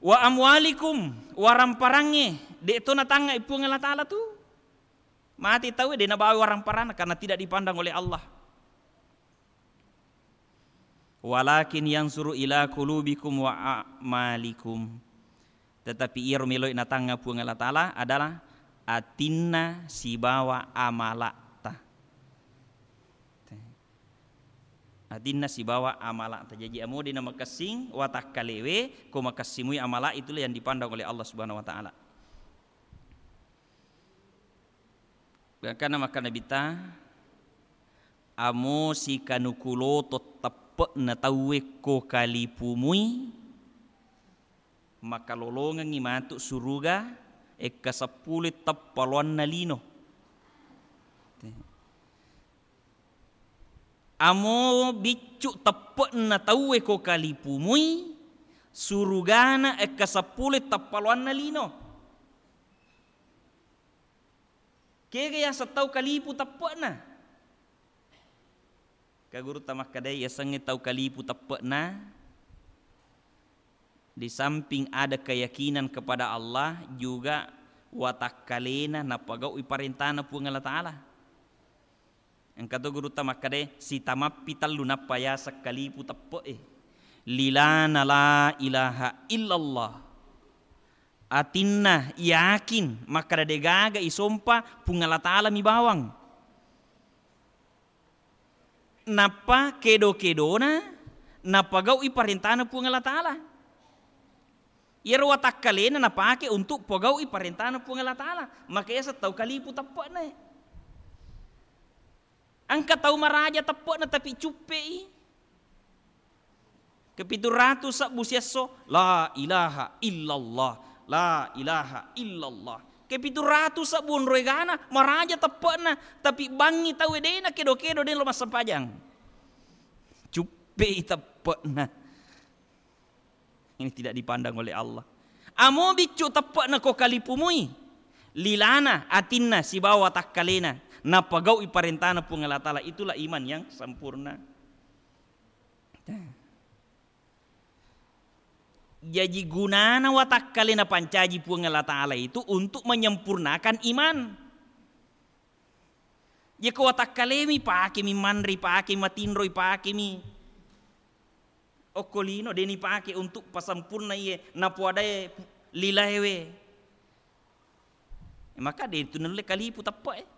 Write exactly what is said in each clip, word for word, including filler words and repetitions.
Wa amwalikum, waramparangnge, de' to natangnga i Puang Allah Ta'ala tu. Mati tau de' nabawa waramparanna karena tidak dipandang oleh Allah. Walakin yansuru ila qulubikum wa a'malikum. Tetapi iyaro meloi natangnga Puang Allah Ta'ala adalah atinna sibawa amala'ta. Atinna sibawa amala'ta. Jaji amo de' namakessing watakkalewe, ko makessimui amala, itulah yang dipandang oleh Allah Subhanahu wa Ta'ala. Gangkanna makkeda Nabitta, amo sikanuku loto teppe'na tauwe ko kalipumui, makalolongengngi matu suruga ekka seppulo teppa loanna lino. Amo biccu teppe'na tauwe ko kalipumui, surugana ekka seppulo teppa loanna lino. Kega yaseng tau kalipu teppe'na? Ka gurutta makkedai, yasengnge tau kalipu teppe'na, di samping ada keyakinan kepada Allah, juga watakkalena napagau'i parentana Puang Allah Ta'ala. Engka to gurutta makkedai, sitamappi tellu nappa yaseng kalipu teppe'e. Lilana la ilaha illallah. Atinna yakin makkeda degaga isompa Puang Allah Ta'ala mi bawang. Nappa kedo-kedona napagau'i parentana Puang Allah Ta'ala. Iyaro watakkalena napake untuk pogau'i parentana Puang Allah Ta'ala. Maka yaseng tau kalipu teppe'na. Engka tau maraja teppe'na tapi cuppe'i. Kepitu ratu sebbu siesso, la ilaha illallah, la ilaha illallah. Kepitu ratu sebbu onroi gana, maraja teppe'na, tapi bangngi tauwe de'na kedo-kedo, de'na lo massempajang. Cuppe'i teppe'na. Ini tidak dipandang oleh Allah. Amo biccu teppe'na ko kalipumui, lilana, atinna, sibawa watakkalena, napagau'i parentana Puang Allah Ta'ala, itulah iman yang sempurna. Jaji gunana watakkale napancaji Puang Allah Ta'ala itu untuk menyempurnakan iman. Jeko watakkalemi, pakemi manre, pakemi matinro, pakemi okko lino, de'ni pake untuk pasempurna iye napoadae lilaewe. Maka de' tu nulle kalipu teppe'e.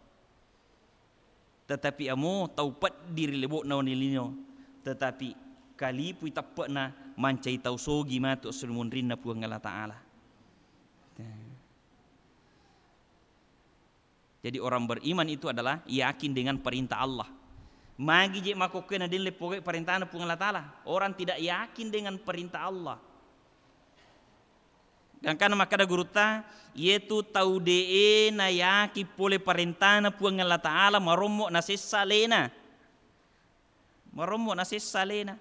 Tetapi amo tau peddi ri lebo'na wenni lino, tetapi kalipui teppe'na, mancai tau sogi matu esso ri munrinna Puang Allah Ta'ala. Jadi orang beriman itu adalah yakin dengan perintah Allah. Magi je makkokkoe na de'le pogau'i parentana Puang Allah Ta'ala. Orang tidak yakin dengan perintah Allah. Gangkanna makkeda gurutta, iyetu tau de'e nayaki pole parentana Puang Allah Ta'ala, marommo nasessa alena. Marommo nasessa alena.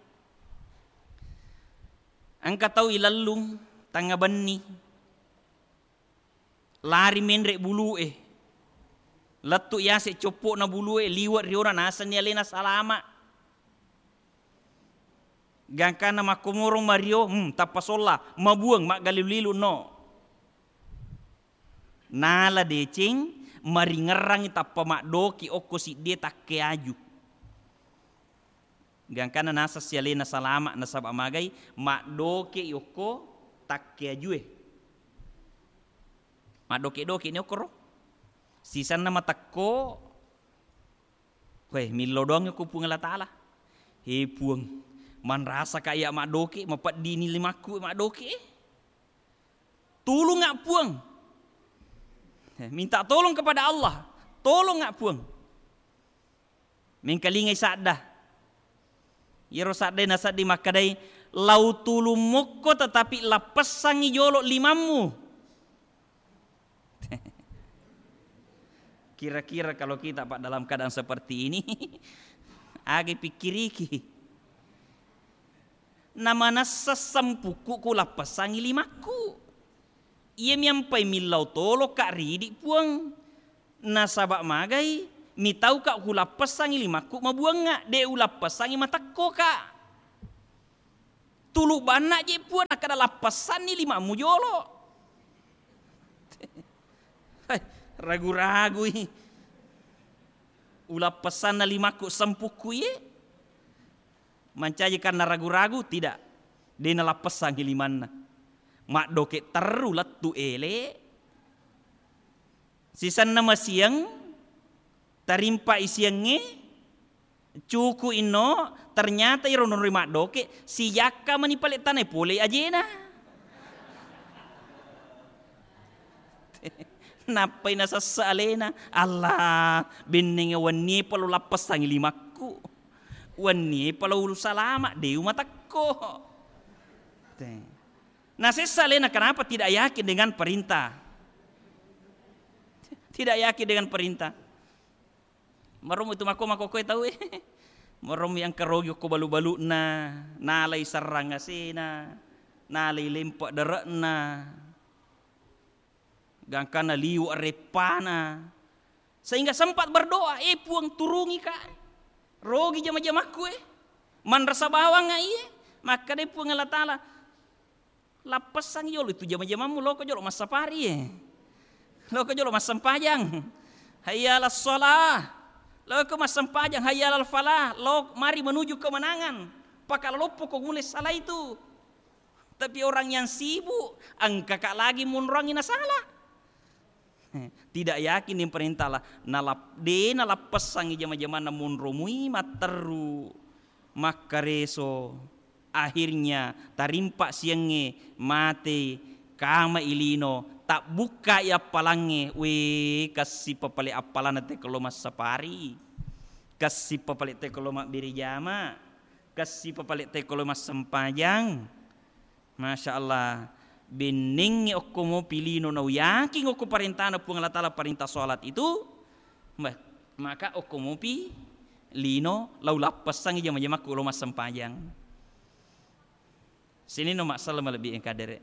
Engka tau ilellung tengnga benni, lari menre bulu'e, lettu yase coppo'na bulu'e, liwe' riona, nasenni alena salama. Gangkanna makkomorong mario, hmm, tappa solla, mabuang, maggalilu-lilu, no. Nala deceng, maringerrangi tappa maddoki okko siddie takke aju. Gangkanna nasessi alena salama, nasaba magai, maddoke okko takke ajue. Maddoke-doke ni okkoro. Sisenna matekko, Weh, millau doang ko Puang Allah Ta'ala. He Puang, manrasaka iya maddoke, mapeddini limakku maddoke. Tulunga Puang. Minta tolong kepada Allah. Tolonga Puang. Mengkalingai sadda. Iyaro saddae nasedding makkedai, lau tulung mokko tetapi lappessangi jolo limammu. Kira-kira kalau kita, Pak, dalam keadaan seperti ini, aga pikkiriki? Namanessa sempukku kulappessangi limakku. Iyami ampai millau tolokka ridi Puang. Nasaba magai, mitauka kulappessangi limakku mabuangnga, de ulappessangi matekkoka. Tulu banna je Puang, nakkeda lappessanni limammu jolo. Hai, ragu-ragui. Ulappessanna limakku sempukku iye. Mancaji karena ragu-ragu, tidak. De nalappessangi limanna. Maddoke terru lettu ele. Sisenna masiang, tarimpa isiangnge, cuku inno, ternyata iro nonroi maddoke, sijakka mani pale tanai pole ajena. Nappai nasessa alena, Allah, bennenge wennie palo lappessangi limakku. Wennie palo ulu salama, de umatekko. Te. Nasessa alena, kenapa? Tidak yakin dengan perintah. Tidak yakin dengan perintah. Maromu itu mako-, makokoe tau e. Maromu yang kerogi ko balu-baluna, nalai serrang asena, nalai lempe dere'na, gangkana liwe reppana. Sehingga sempat berdoa, "Eh, Puang, turungi ka. Rogi jama-jamakku e. Manrasa bawang iye." Makkeda Puang Allah Taala, "Lappessang jolo itu jama-jamammu, loko jolo massapari e. Loko jolo massempajang. Hayya 'alas shalah. Loko massempajang, hayya 'alal falah. Lo mari menuju kemenangan. Pakalaloppo ko mulai salah itu." Tapi orang yang sibuk, engka ka lagi munrongi nasala. Tidak yakin dengan perintah Allah. Nalap-, de nalappessangi jama-jamanna monro mui matteru, makkareso. Akhirnya tarimpa siangnge, mate, kama ilino, tabbukkai appalangnge, we, kassi papale appalana teko lo massapari, kassi papale teko lo mabbere jama, kassi papale teko lo massempajang. Masya Allah, bennengngi okko mopi lino nau yakin okko parentana Puang Allah Taala, parenta sholat itu, ma-, maka okko mopi lino lau lappessangi jama-jamakku lo massempajang. Sininno massala malebbi engka dere.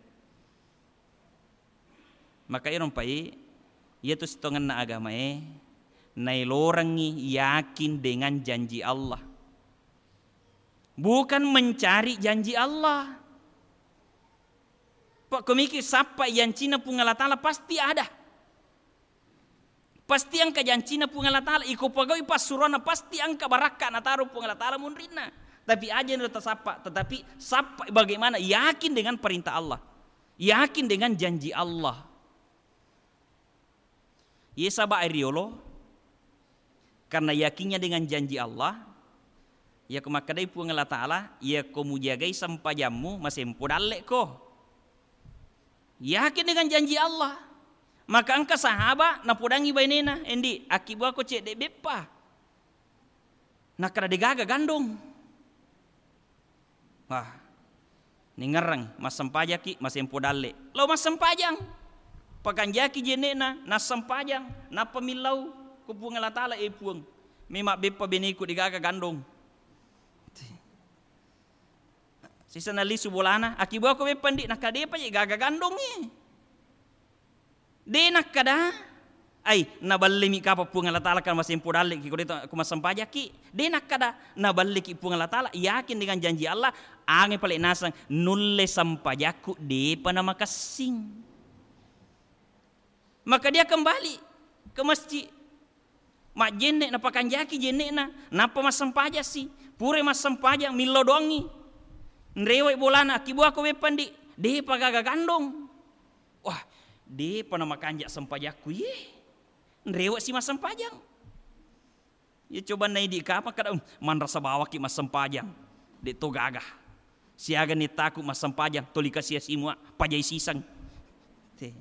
Maka ero mpai, iyatu sitongenna agamae, nailorengngi yakin dengan janji Allah. Bukan mencari janji Allah. Pak, komiki sappa jancinna Puang Allah Taala pasti ada. Pasti engka jancinna Puang Allah Taala, iko pagaui passuroanna pasti engka barakka nataro Puang Allah Taala munrinna. Tapi aja nero tasappa, tetapi sappa bagaimana yakin dengan perintah Allah. Yakin dengan janji Allah. Ye saba riolo, karena yakinnya dengan janji Allah, yako makkedai Puang Allah Taala, yako mujagai sempajammu, masempo dallekko. Yakin dengan janji Allah. Maka engka sahaba napodangi bainena, "Endi, akkibuako cedde beppa." Nakkeda, "Degaga gandong." Wah, ningerreng, massempajaki, masempo dalle. Lao massempajang. Pakanjaki jenne'na, nassempajang. Nappa millau ko Puang Allah Taala, "Eh Puang, memang beppa beneku degaga gandong." Sisa nalisu bolana, "Akkibuako beppa ndi?" Nakkeda, "Depa je gaga gandong e." De nakkeda, "Ai, naballemi kapa Puang Allah Taala kan masempo dalleki ko de to, ko massempajakki." De nakkeda, "Naballeki Puang Allah Taala, yakin dengan janji Allah, ange pale naseng nulle sempajakku depa namakessing." Maka dia kembali ke masjid. Majjenne napakanjaki jenne'na, nappa massempajassi. Pura massempajang, millau doangngi. Nrewai bolana, "Akkibuako beppa ndi?" "Depa gaga gandong." Wah, depa namakanja sempajakku ye. Nrewe'si massempajang. Ye coba naidi kapang kada, "Um, manrasa bawakki massempajang. De to gaga. Siaga ni taku massempajang, toli kasia simua, pajai siseng." Te.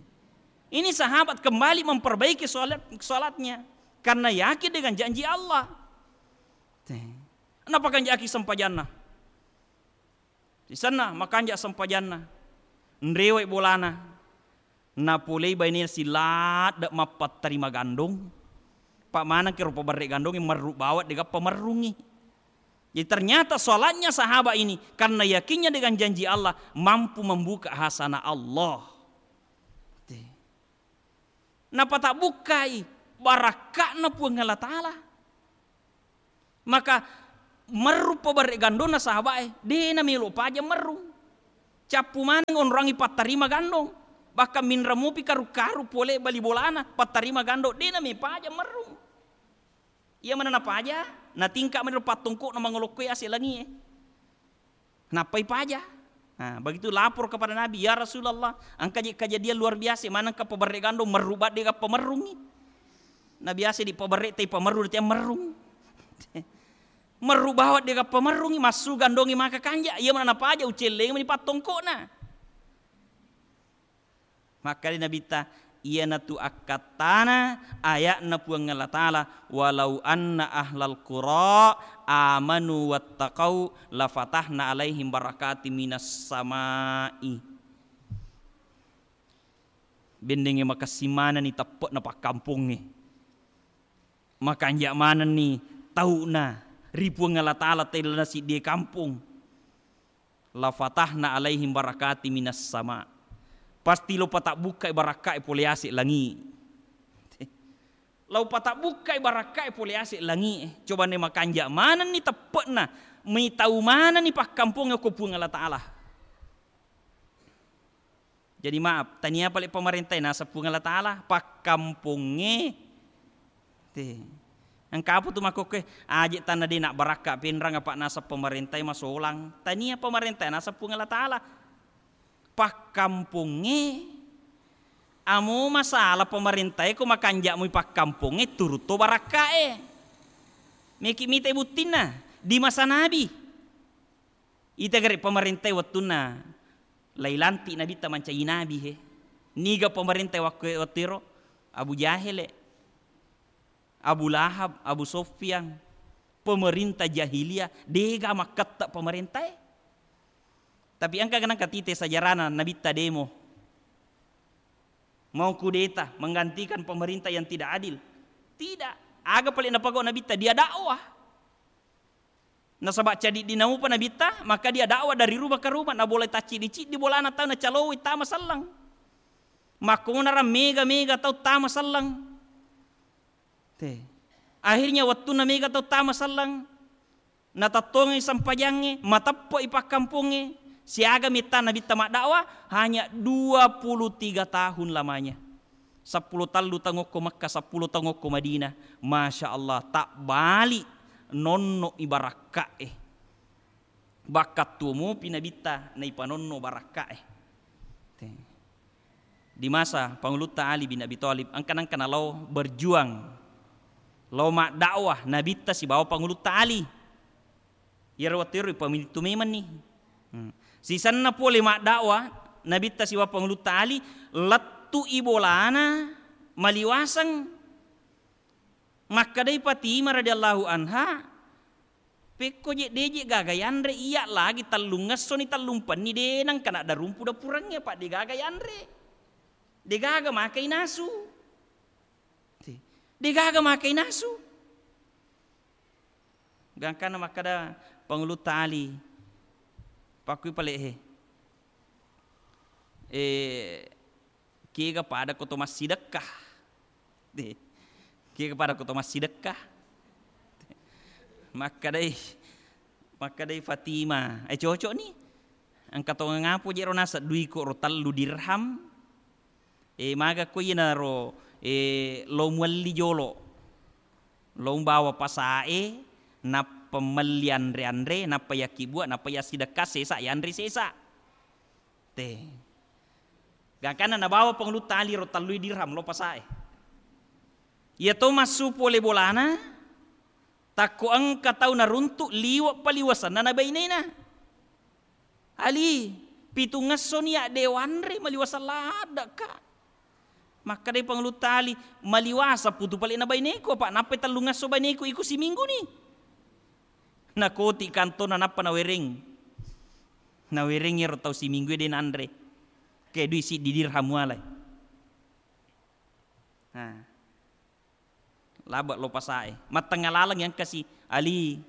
Ini sahabat kembali memperbaiki sholat, sholatnya karena yakin dengan janji Allah. Te. Napakanjaki sempajanna. Sisenna makanja sempajanna, nrewai bolana, napolei bainena siladde mappattarima gandong, pa manengki rupa berre gandongnge merru bawang degappa merrungngi. Jadi ternyata sholatnya sahabat ini karena yakinnya dengan janji Allah mampu membuka hasanah Allah. Te. Napatabbukkai barakka'na Puang Allah Taala. Maka merru pabarre gandonna sahabae, de namelo pajang merru. Cappu maneng onroangngi pattarima gandong. Bahkan minreng mupi karu-karu pole bali bolana, pattarima gandong, de' name paja merrung. Iya mana napaja, natingka mani ro pattongko'na mangolokkoe ase' langie. Nappai paja. Nah, begitu lapor kepada Nabi, "Ya Rasulullah, engka je kejadian luar biasa, manengka paberre' gandong merru badde gappa merrungi." Nabi ase' di paberre' tai pamerru, dia merrung. Merru bawang de gappa merrungi, massu gandongi maka kanja. Iya mana napaja, ucelleng mani pattongko'na. Makkeda Nabitta, iyanatu akkattana aya'na Puang Allah Ta'ala, "Walau anna ahlal qura amanu wattaqau lafatahna alaihim barakati minas sama'i." Bendengnge makessing manenni teppe'na pakkampongnge. Makanja' manenni tau'na ri Puang Allah Ta'ala tellana siddie kampong. "Lafatahna alaihim barakati minas sama." Pasti lo patabbukkai barakka'e pole ase' langi. Lo patabbukkai barakka'e pole ase' langi. Coba ne makanja' manenni teppe'na, mitau manenni pakkampongnge ko Puang Allah Ta'ala. Jadi maaf, tania pale' pamarentai naseng Puang Allah Ta'ala, pakkampongnge. Te. Engka apa tu makkokkoe, aje' tanna de' nabbarakka' penrang apa' naseng pamarentai masolang. Tania pamarentai naseng Puang Allah Ta'ala. Pakkampongnge. Amo masalah pamarentai ko makanja' mui pakkampongnge, turu' to barakka'e. Meki mita buttinna di masa Nabi. Ita gare' pamarentai wettunna lailanti' Nabitta mancaji nabi he. Niga pamarentai waktu, wettuero? Abu Jahele, Abu Lahab, Abu Sufyan. Pemerintah jahiliyah, dega makketta' pamarentae. Tapi engka ganang katite sajarana Nabitta demo. Mau kudeta menggantikan pemerintah yang tidak adil. Tidak. Aga pale' napagau Nabitta, dia dakwah. Nasaba' cadiddi naupa Nabitta, maka dia dakwah dari rumah ke rumah, nabolai tacciddi-ciddi bolana tau nacalowoi tama selleng. Makkomonara mega-mega tau tama selleng. Te. Akhirnya wettunna mega tau tama selleng, natattongengngi sempajangnge, mateppe'i pakkampongnge, siaga metta Nabitta maddakwah, hanya dua puluh tiga tahun lamanya. Seppulo tellu taung okko Mekka, seppulo taung okko Madinah. Masya Allah, tabbali nonno' i barakka'e. Bakkattuo mupi Nabitta naipanonno' barakka'e. Te. Di masa Pangulutta Ali bin Abi Thalib, engka nengka nalao berjuang, lao maddakwah Nabitta sibawa Pangulutta Ali. Iyaro wettuero ipamilitu memenni. Hmm. Sisenna pole maddakwah Nabitta sibawa Pangulutta Ali, lettu'i bolana maliwaseng. Makkedai Fatimah radhiyallahu anha, "Pekko je' de' je' gaga yanre, iya' lagi tellungngessoni tellumpenni de' nengka naddarumpu dapurengnge, apa' de' gaga yanre. De' gaga makai nasu." Te. De' gaga makai nasu. Gangkanna makkeda Pangulutta Ali, pakkui pale' he. Eh, kega pada ko to massidekka. De. Kega pada ko to massidekka. Makkedai, makkedai Fatimah, eh, cocok ni. Engka tongeng apo je' ro naseng duiko ro tellu dirham. Eh, maga ko iyanaro, eh, lo muelli jolo. Lo mubawa pasae, nappa melli anre-anre, nappa yakkibua, nappa yassidekka sesa, yanre sesa. Te. Gangkanna nabawa Pangulutta Ali ro tellui dirham lo pasae. Iya to massu pole bolana, takko engka tau naruntu' liwe' paliwasenna na bainena. Ali, pitungngessoni ya' de' wanre maliwaseng laddekka. Makkedai Pangulutta Ali, maliwaseng putu pale' na baineku, apa' nappai tellungngesso baineku iko siminggu ni. Nakoti' kantona nappa nawereng. Nawereng iyaro tau siminggu e de' nanre. Ke dui siddi dirham mualai. Nah. Labe' lo pasae. Mattengnga laleng engkasi, Ali,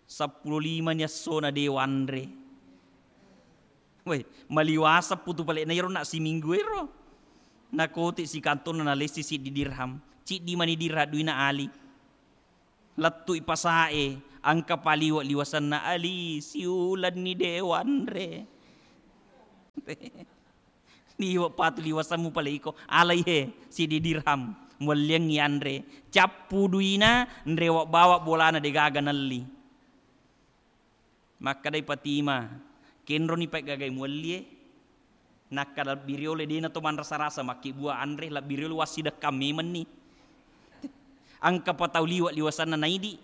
seppulo lima ni essona de' wanre. Woi, maliwaseng putu pale'na iyaro na' siminggu ero. Nakoti' sikantonna nalessi siddi dirham. Ciddi mani dirham duina Ali. Lettu'i pasae, engka paliwe' liwasenna Ali, siulenni de' wanre. Liwe' patu liwasemmu pale iko, alai he, siddi dirham, muelliangngi anre, cappu duina, nrewa' bawa bolana degaga nelli. Makkedai Fatimah, kenroni paigagae muellie, nakkada lebbi riolo dena to manrasa-rasa makkibua anre, lebbi riolo wassidekkang memenni. Engkapa tau liwe' liwasanna naidi,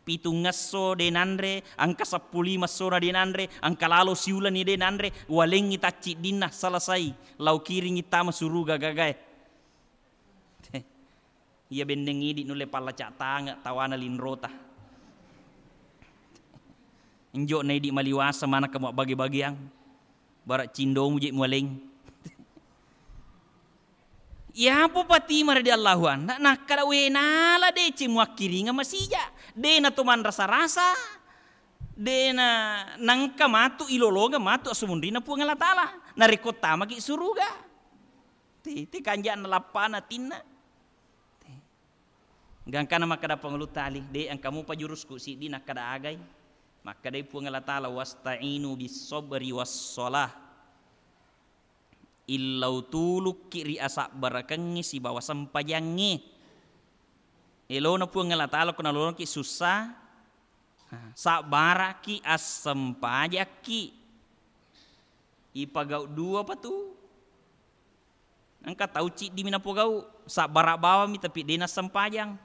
pitungngesso de nanre, engka seppulo lima essona de nanre, engka lalo siulani de nanre, walengngi tacciddinna, selesai, lao kiringngi tama suruga gagae. Iya benneng idi nulle pallaca tange tawana linrota. Enjo na idi maliwasa manakka muabbage-bageang. Bara cindomu je mualeng. Iyapo Fatimah radhiyallahu anha nakkada, we nala deceng muakkiringa masija. De na to manrasa-rasa. De na nangka matu ilolongeng matu assumunrinna Puang Allah Taala. Narekko tamaki suruga. Te, te kanja'na lappana atinna. Te. Gangkana makkada Pangulutta Ali, de engka mupa jurusku siddi nakkada agai. Makkadai Puang Allah Taala, "Wasta'inu bis sabri was shalah." Illau tulukki ri asabbarakengnge sibawa sempajangnge. Elona Puang Allah Taala ko nalolongki sussa, sabbaraki, assempajakki. Ipagau dua patu. Engka tau ciddimi napogau, sabbara bawammi tapi de nassempajang.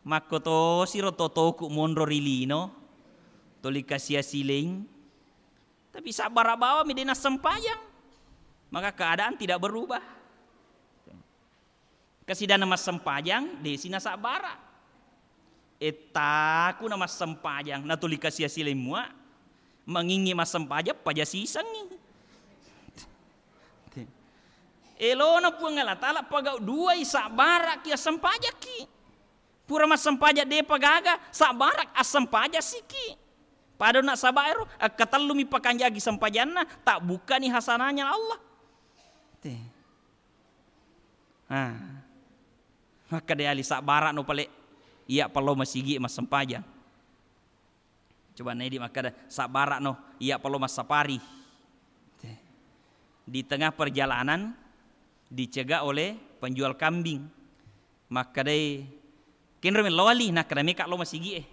Makkotosiro totoku monro ri lino, toli kasia sileng, tapi sabbara bawammi de nassempajang. Maka keadaan tidak berubah. Kasidanna massempajang, desi nasabbara. Ettaku na massempajang, natuli kasia sileng mua, mangingngi massempajang, paja sisengngi. Elona Puang Allah Taala pagau duai, sabbaraki, assempajakki. Pura massempajang depa gaga, sabbarak, assempajassiki. Pada nasaba ero, akkatellumi pakanjaki sempajanna, tabbukkani hasanahnya Allah. Te. Ah. Makkeda Ali, "Sabbara'no pale, iya pallo masigi massempajang." Coba naidi makkeda, "Sabbara'no, iya pallo massapari." Di tengah perjalanan dicegah oleh penjual kambing. Makkedai, "Kenro mello Ali?" Nakkeda, "Meka lo masigi e."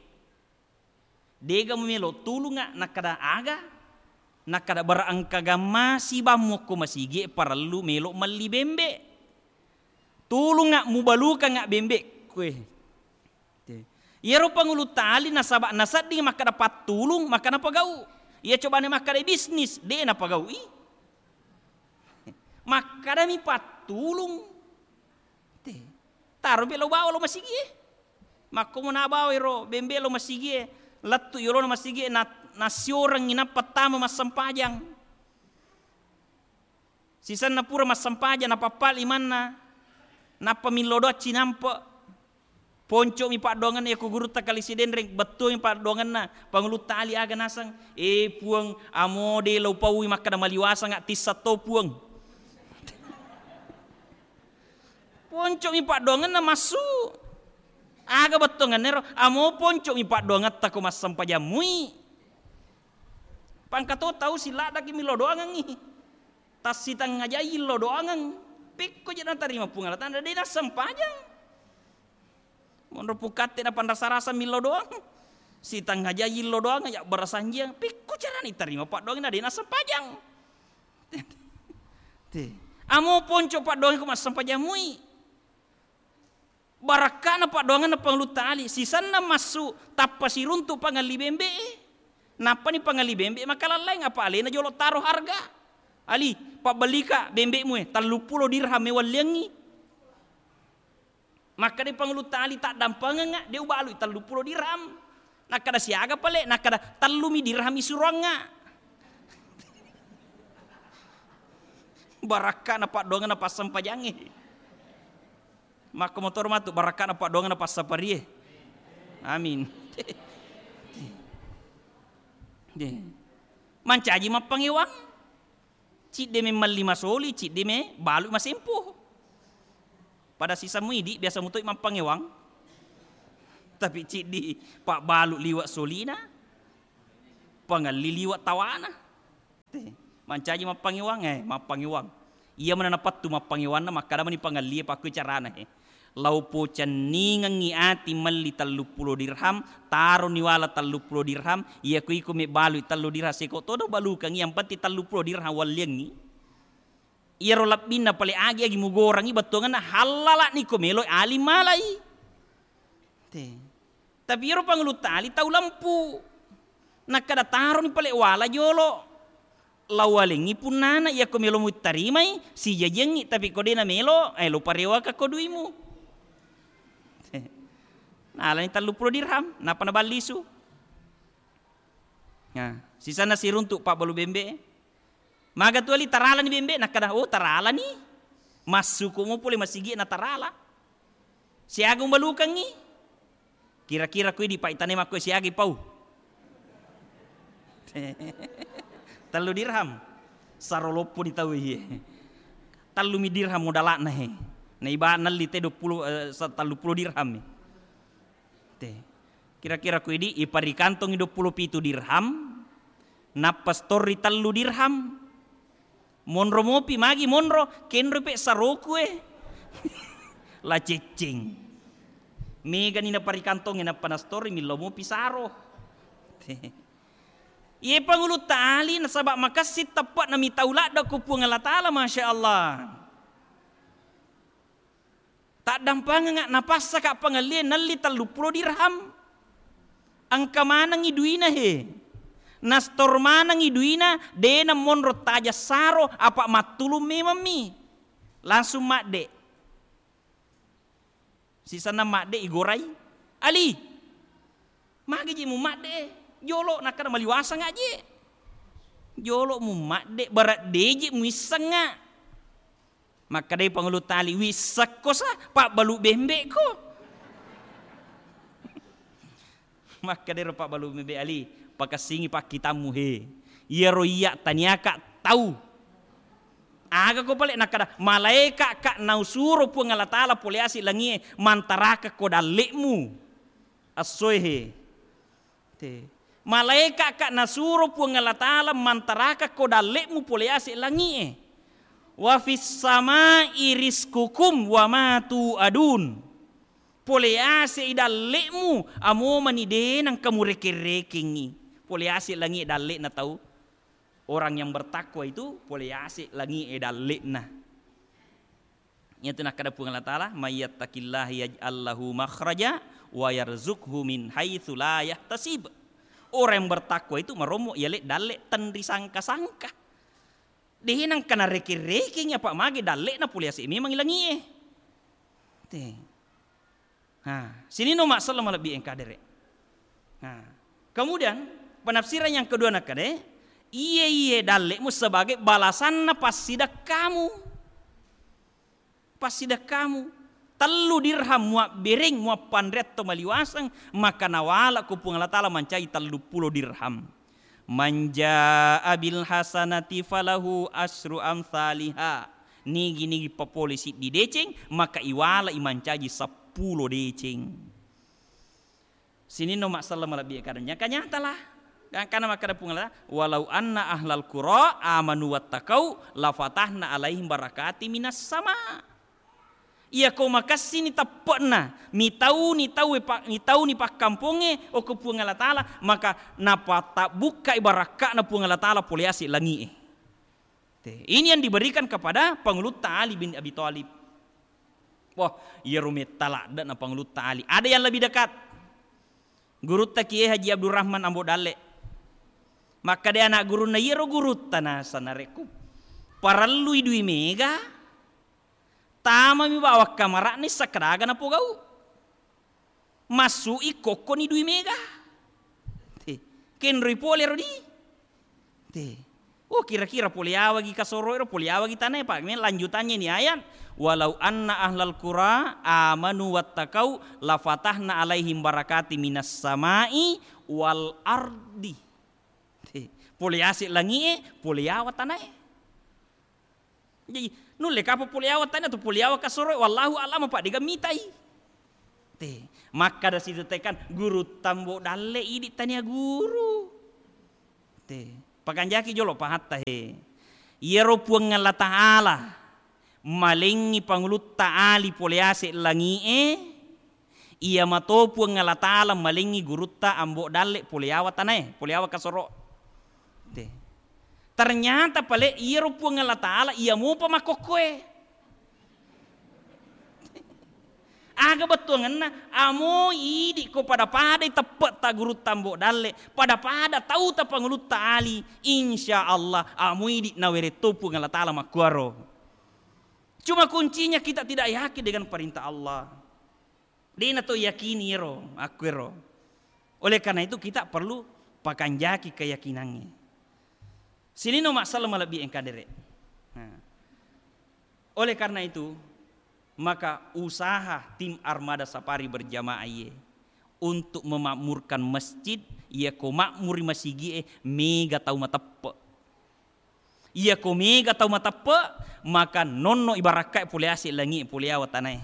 Dega mumelo tulunga, nakkada aga? Nakkada bara engka gamma sibammu okko masigi e parellu melo melli bembe. Tulunga mubalukanga bembe kue. Iyaro pangulu tali nasaba nasedding makkada pattulung, makkada pagau. Iya cobane makkada bisnis, de napagaui. Makkadami pattulung. Te. Taro pe lo bawa lo masigi e. Makkomo nabawa ero bembe lo masigi e, lettu yolona masigi e, na-, nassiorengngi nappa tama massempajang. Sisenna pura massempajang, napappali manna, nappa millo doang cinampe. Ponco'mi paddoangenna, yako gurutta kali Sidenreng, bettuami paddoangenna, pangulutta ali aga naseng, "E Puang, amo de lo paui makkada maliwasanga tissa to Puang." Ponco'mi paddoangenna massu. Aga bettuangenna ero? Amo ponco'mi paddoangetta ko massempajang mui. Pangkato tau siladdaki millo doangengngi. Tassitengngajai lo doangeng. Pekko je natarima Puang Allah Taala, de nassempajang. Monro pukatte napanrasa-rasa millo doang. Sitengngajai lo doang, ya barasanjiang. Pekko carana itarima paddoangenna de nassempajang. Te. Amo ponco paddoangeng ko massempajang mui. Barakka'na paddoangenna pangulutta ali, sisenna massu tappa siruntu pangelli bembe e. Nappani pangelli bembe makalallaing apa alena jolo taro harga. "Ali, pabbellika bembe'mu e, telluppulo dirham e walliangngi." Makkeda pangulutta ali, "Taddampengengnga, de ubalui telluppulo dirham." Nakkeda, "Siaga pale?" Nakkeda, "Tellumi dirham isuroangnga." Barakka'na paddoangenna passempajangnge. Makko motoro matu barakka'na paddoangenna passaparie. Amin. Mancaji mappangewang. Cidde memmelli masoli, cidde me balu masempo. Pada sisemmu idi biasa mutoi mappangewang. Tapi ciddi pabbalu liwa solina, pangelli liwa tawana. Te, mancaji mappangewang, eh, mappangewang. Iya mana napattu mappangewanna, makkada mani pangellie pakkui carana, he. Lao pocenningengngi ati melli telluppulo dirham, taroni wala telluppulo dirham, iya ko iko mebbalui tellu dirham seko todo balukengngi, yang penting telluppulo dirham walliangngi. Iyaro lebbinna pale agi-agi mugorangngi bettuangenna hallala'ni ko meloi aling malai. Te. Tapi iyaro pangulutta ali tau lempu. Nakkada taroni pale wala jolo. Lawalengngi punnana, iyako melo muttarimai, sijajiangngi, tapi ko de namelo, eh, lo parewaka ko duimu. Te. Nalani telluppulo dirham, nappa naballisu. Nah, sisanna siruntu pabbalu bembe. Maga tu ali taralani bembe, nakkada, "Oh, taralani." Massuko mo pole masigi na tarala. Siaga umbalukangngi? Kira-kira kui di paitanai makko siaga pau? Tellu dirham. Saro loppo di tau iye. Tellumi dirham modala'na he. Na iba nelli te dua puluh, eh, sa-, telluppulo dirham. Te. Kira-kira ku idi, iparikantongi dua puluh pitu dirham, nappa stori tellu dirham. Monro mopi, magi monro, kenro pe saroku e. La cecceng. Megani naparikantongi nappa nastori, millau mopi saro. Te. Iye pangulutta ali nasaba makessing teppe'na mitau ladde ko Puang Allah Taala, Masya Allah. Taddampanganga, napassaka pangellie nelli telluppulo dirham. Engka manengngi duina he. Nastor manengngi duina, de namonro taja saro, apa mattulung memammi. Langsung madde. Sisenna madde igorai. Ali, magi je mu madde? Jolo nakkada maliwasang aje. Jolo mu madde, barat deje muissengnga. Makkedai pangulutta ali, "Wissekko sa, pabbalu bembe'ko." Makkedai ro pabbalu bembe ali, "Pakessingi pakkitammu he. Iyaro iyya taniaka tau." Aga ko pale nakkada, "Malaeka ka nausuro Puang Allah Taala pole ase langie mantaraka ko dalle'mu." Essoe he. Te. Malaeka ka nasuro Puang Allah Taala mantaraka ko dalle'mu pole ase langie. "Wa fis samai rizqukum wa ma tu'adun." Pole ase i dalle'mu, amo mani de nangka murekeng-rekengngi. Pole ase langie dalle'na tau. Orang yang bertakwa itu pole ase langie dalle'na. Iyatu nakkeda Puang Allah Taala, "May yattaqillaha yaj'al lahu makhraja wa yarzuqhu min haitsu la yahtasib." Orang yang bertakwa itu marommo yale dalle tenri sangka-sangka. De nangka narekeng-rekengngi apa mage dalle'na pole ase memang langie. Te. Ha, sininna umma selleng malebbi engka dere. Ha. Kemudian penafsiran yang kedua nakkeda, iye-iye dalle'mu sebagai balasanna passidekkamu. Passidekkamu. Tellu dirham muabbereng, muappanreang to maliwaseng, maka nawala ko Puang Allah Taala mancaji telluppulo dirham. "Man jaa bil hasanati falahu asyru amtsaliha." Nigi-nigi papole siddi deceng, maka iwala i mancaji seppulo deceng. Sininna umma selleng malebbi kada nyaka nyatalah. Gangkana makkeda Puang Allah, "Walau anna ahlal qura amanu wattaqau lafatahna alaihim barakati minas sama." Iyako makessini teppe'na, mitauni tauwe pa-, mitauni pakkampongnge okko Puang Allah Taala, maka napatabbukkai barakka'na Puang Allah Taala pole ase langi'e. Te, ini yang diberikan kepada Pangulutta Ali bin Abi Thalib. Wah, iyaro metta ladde'na Pangulutta Ali. Ada yang lebih dekat. Gurutta Kiai Haji Abdurrahman Ambo Dalle. Makkeda anak gurunna, iyaro gurutta naseng narekko parellui dui mega, tamami bawang kamara'na isseng kadaga napogau. Massu'i kokkoni dui mega. Te. Kenroi pole ro di. Te. Oh, kira-kira pole awagi kasoro'e ro, pole awagi tanae, Pak. Meng lanjutannya ini ayat, "Walau anna ahlal qura amanu wattaqau lafatahna alaihim barakati minas samai wal ardi." Te. Pole ase langi'e, pole awa tanae. Jaji, nulle kapa pole awa tanae atau pole awa kasoro'e, wallahu a'lam, apa dega mitai. Te, makkada sitetekan, gurutta Ambo Dalle idi tania guru. Te, Pakanjaki jolo pahatta he. Iyaro Puang Allah Ta'ala malengngi pangulutta ali pole ase langi'e, iya mato Puang Allah Ta'ala malengngi gurutta Ambo Dalle pole yawa tanae, pole yawa kasoro. Te. Ternyata pale iyaro Puang Allah Ta'ala iya mupa makkokkoe. Aga bettuangenna, amo idi ko pada-padai teppe'ta gurutta Ambo Dalle, pada-pada tauta pangulutta ali, insya Allah amo idi naweretto Puang Allah Ta'ala makkuaro. Cuma kuncinya kita tidak yakin dengan perintah Allah. Dena to yakini ero, akkuero. Oleh karena itu kita perlu pakanjaki keyakinannya. Sininna masalah malebbi engka dere. Nah. Oleh karena itu, maka usaha tim Armada Safari berjamaah iye untuk memakmurkan masjid, iya ko makmuri masigi'e mega tau mateppe. Iya ko mega tau mateppe, maka nonno ibarakkae pole ase langi, pole awa tanae.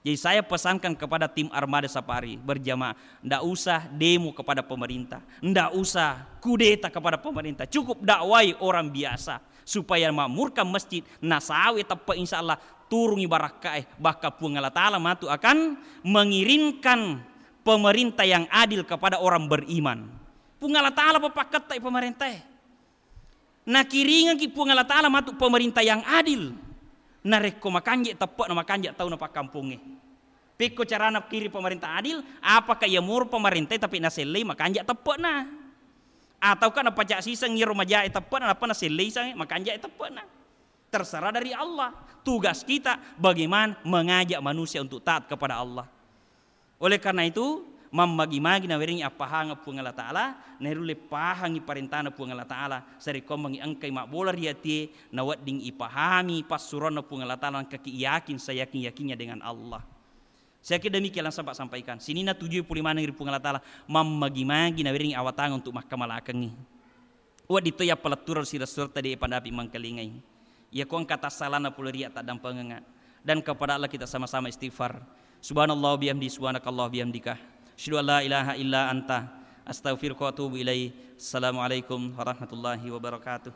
Jadi saya pesankan kepada tim Armada Safari berjamaah, ndak usah demo kepada pemerintah, ndak usah kudeta kepada pemerintah, cukup dakwai orang biasa supaya makmurkan masjid, nasawe teppe, insya Allah turungi barakkae, bahkan Puang Allah Ta'ala matu akan mengirimkan pemerintah yang adil kepada orang beriman. Puang Allah Ta'ala papakkettai pemerintah e. Nakiringengki Puang Allah Ta'ala matu pemerintah yang adil. Narekko makanja teppe'na, makanja tauna pakkampongnge. Pekko carana kiring pemerintah adil, apakah iya moro pemerintah tapi nasellei makanja teppe'na? Ataukah napacak siseng iyaro majae teppe'na, nappa nasellei sange makanja teppe'na? Terserah dari Allah. Tugas kita bagaimana mengajak manusia untuk taat kepada Allah. Oleh karena itu, mammagi-magi nawerengngi appahangeng Puang Allah Ta'ala, nairulle pahangi parentana Puang Allah Ta'ala, sarekkoammengngi engkai mabbola ri atie, nawedding ipahami passuroanna Puang Allah Ta'ala, engkaki yakin seyakin-yakinnya dengan Allah. Saya kira demikian yang sempat sampaikan. Sininna tujue pole maneng ri Puang Allah Ta'ala, mammagi-magi nawerengngi awatangeng untuk makkamalakengngi. Wedding to yappalettureng sireng-suretta de' padapi mangkalingai. Iyako engka tassalana pole ri attaddampengengnga. Dan kepada Allah kita sama-sama istighfar. Subhanallah bihamdi, subhanakallah bihamdika. Asyhadu an la ilaha illa anta, astaghfiruka wa atubu ilaik. Assalamualaikum warahmatullahi wabarakatuh.